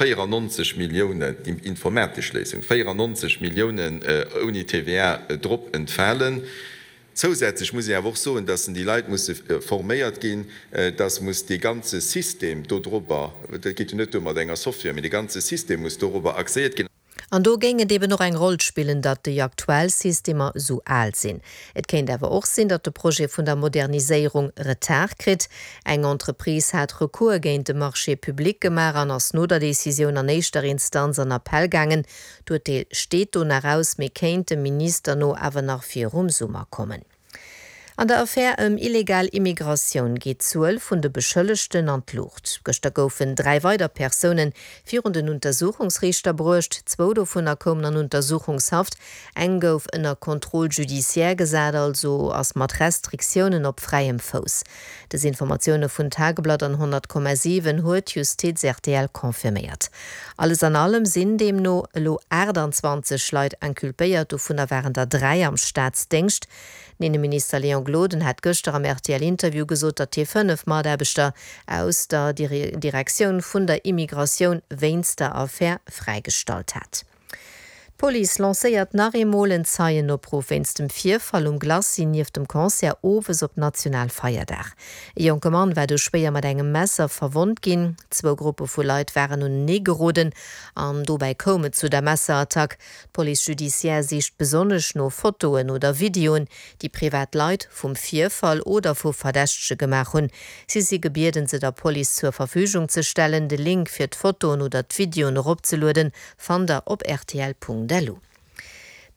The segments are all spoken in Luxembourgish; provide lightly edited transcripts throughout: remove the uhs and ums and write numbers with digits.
94 Milliounen, déi informatesch Léisung, 94 Milliounen ouni TVA drop entfalen. Zousätzlech muss een awer och soen, dass déi Leit musse forméiert ginn, dass muss dee ganze System dodrobber, dat geet jo net duer mat enger Software, mee dee ganze System muss dorobber axéiert ginn. An do géing et eben och eng Roll spillen, datt déi aktuell Systemer esou al sinn. Et kéint awer och sinn, datt de Projet vun der Moderniséierung Retard kritt. Eng Entreprise hat Recours géint de Marché public gemaach an ass no der Decisioun an éischter Instanz an Appell gaangen. D'Urteel steet do nach aus, mee kéint dem Minister no awer nach virum Summer kommen. An der Affär ëm illegal Immigratioun geet d'Zuel vun de Beschëllegten an d'Luucht. Gëschter goufen 3 weider Persoune virun den Untersuchungsriichter bruecht. Zwou dovunner koumen an Untersuchungshaft, eng gouf ënner Contrôle judiciaire gesat, also ass mat Restriktiounen op fräiem Fouss. Dës Informatioune vun Tageblatt an 100,7 huet d'Justiz rtl confirméiert. Alles an allem sinn deemno elo 28 Leit inculpéiert, dovunner waren der 3 am Staatsdéngscht. Den Inneminister Léon Gloden hat gëschter am RTL-Interview gesot, datt hie 5 Mataarbechter aus der Direktioun vun der Immigratioun wéinst der Affär fräigestallt hat. D'Police lancéiert nach eemol en Zeienopruff wéinst dem Virfall um Glacis nieft dem Concert owes op Nationalfeierdag. E jonke Mann war du schwéier mat engem Messer verwonnt ginn. Zwou Gruppe vu Leit waren unenee geroden an dobäi koum et zu der Messerattack. D'Police judiciaire sicht besonnesch no Fotoen oder Videoen, déi privat Leit vum Virfall oder vu Verdächtege gemaach hunn. Si si gebieden, se der Police zur Verfügung ze stellen. De Link fir d'Fotoen oder d'Videoen eropzelueden, fannt der op rtl.lu.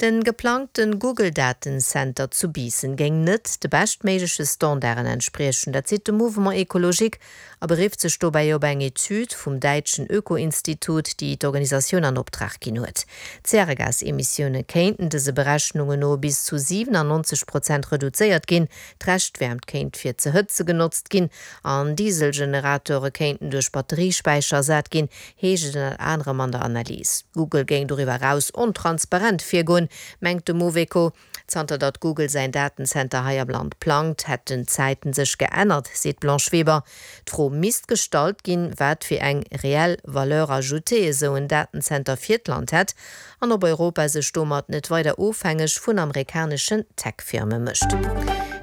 De geplangte Google-Datencenter zu Biissen géing net de beschtméigleche Standarden entspriechen. Dat seet de Mouvement Ecologique a berifft sech dobäi op eng Etüd vum däitschen Öko-Institut, déi d'Organisatioun an Optrag ginn huet. D'Zäregasemissioune kéinten dëse Berechnungen no bis zu 97 Prozent reduzéiert ginn, d'Reschtwäermt kéint fir ze hëtze genotzt ginn an Dieselgeneratore kéinten duerch Batteriespäicher ersat ginn, heescht et ënnert anerem an der Analys. Google géing doriwwer eraus ontransparent virgoen, mengt de Mouveco. Zanter datt Google säin Datencenter hei am Land plangt, hätten d'Zäiten sech geännert, seet d'Blanche Weber. D'Fro misst gestallt ginn, wat fir eng reell Valeur ajoutée esou en Datencenter fir d'Land hätt an ob Europa sech domat net weider ofhängeg vun amerikaneschen Tech-Firme mécht.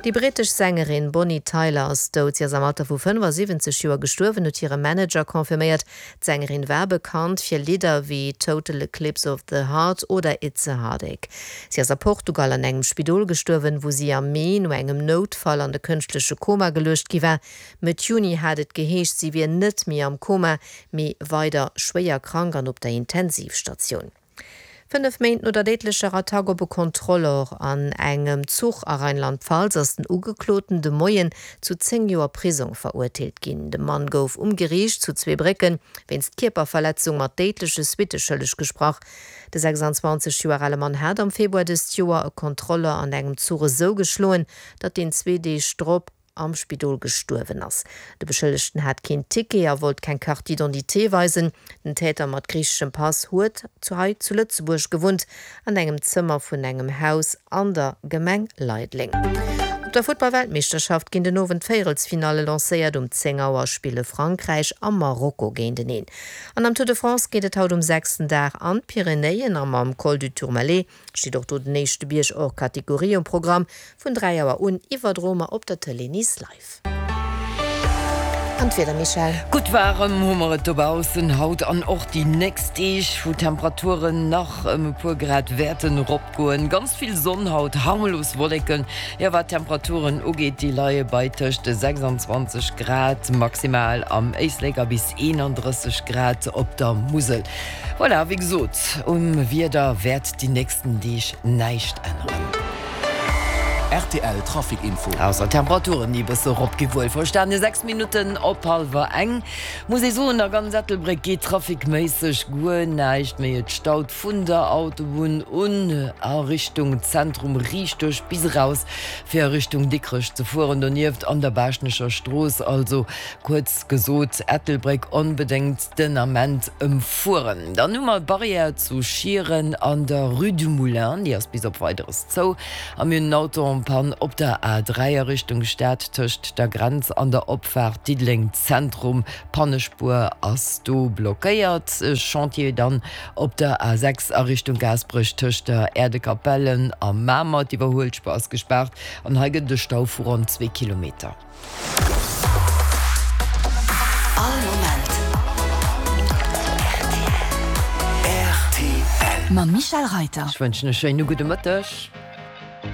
Déi brittesch Sängerin Bonnie Tyler ass dout. Si ass am Alter vu 75 Joer gestuerwen, huet hire Manager confirméiert. D'Sängerin war bekannt fir Lidder wéi Total Eclipse of the Heart oder It's a Heartache. Si ass a Portugal an engem Spidol gestuerwen, wou si am Mee no engem Noutfall an de kënschtleche Koma geluecht gi war. Mëtt Juni hat et geheescht, si wier net méi am Koma, mee weider schwéier krank an op der Intensivstatioun. 5 Méint no der déidlecher Attack op e Kontrolleur an engem Zuch a Rheinland-Pfalz ass den Ugekloten de Moien zu 10 Joer Prisong verurteelt ginn. De Mann gouf um Geriicht zu Zweebrécken wéinst Kierperverletzung mat déidleche Suitte schëlleg gesprach. De 26 Joer ale Mann hat am Februar dëst Joer e Kontrolleur an engem Zuch esou geschloen, datt deen zwee Deeg drop am Spidol gestuerwen ass. De Beschëllegten hat keen Ticket a wollt keng Carte d'identité weisen. Den Täter mat griicheschem Pass huet zu hei zu Lëtzebuerg gewunnt, an engem Zëmmer vun engem Haus an der Gemeng Leideleng. Op der Futtball-Weltmeeschterschaft ginn den Owend d'Véierelsfinalle lancéiert. Um 10 Auer spille Frankräich a Marokko géinteneen. An am Tour de France geet et haut um sechsten Dag an d'Pyrenäen a mam Col du Tourmalet Steet och do den éischte Bierg hors Catégorie um Programm. Vun 3 Auer un iwwerdroe mer op der Tëlee Nice live. An d'Wieder, Michèle? Gutt waarem hu mer et dobaussen haut an och déi nächst Deeg, wou d'Temperaturen nach ëm e puer Grad wäerten eropgoen. Ganz vill Sonn haut, harmlos Wolleken. Jo, wat d'Temperaturen ugeet, déi leie bei tëscht 26 Grad maximal am Éislek a bis 31 Grad op der Musel. Voilà, wéi gesot, um Wieder wäert déi nächsten Deeg näischt änneren. Rtl Trafic Info. Ausser d'Temperaturen, déi e bësse erop gi wuelverstane. 6 Minutten op hallwer eng. Muss ee soen, a ganz Ettelbréck geet traficméisseg guer näischt méi. Et staut vun der Autobunn un a Richtung Zentrum riicht duerch bis eraus fir a Richtung Dikrech ze fueren. Donieft an der Baaschtnecher Strooss, also kuerz gesot Ettelbréck onbedéngt den Ament ëmfueren. Dann hu mer d'Barrière zu Schieren an der Rue du Moulin, déi ass bis op Weideres zou. A mir hunn en Auto en. en Panne op der A3 a Richtung Stad tëscht der Grenz an der Opfaart Diddeleng Zentrum. D'Pannespuer ass do blockéiert. Chantier dann op der A6 a Richtung Gaasperech tëscht der Äerdekapellen a Mamer. D'Iwwerhuelspuer ass gespaart an hei gëtt et e Stau vu ronn zwee Kilometer. All Moment rtl. Mam Michèle Reiter. Ech wënschen e schéine gudde Mëtteg.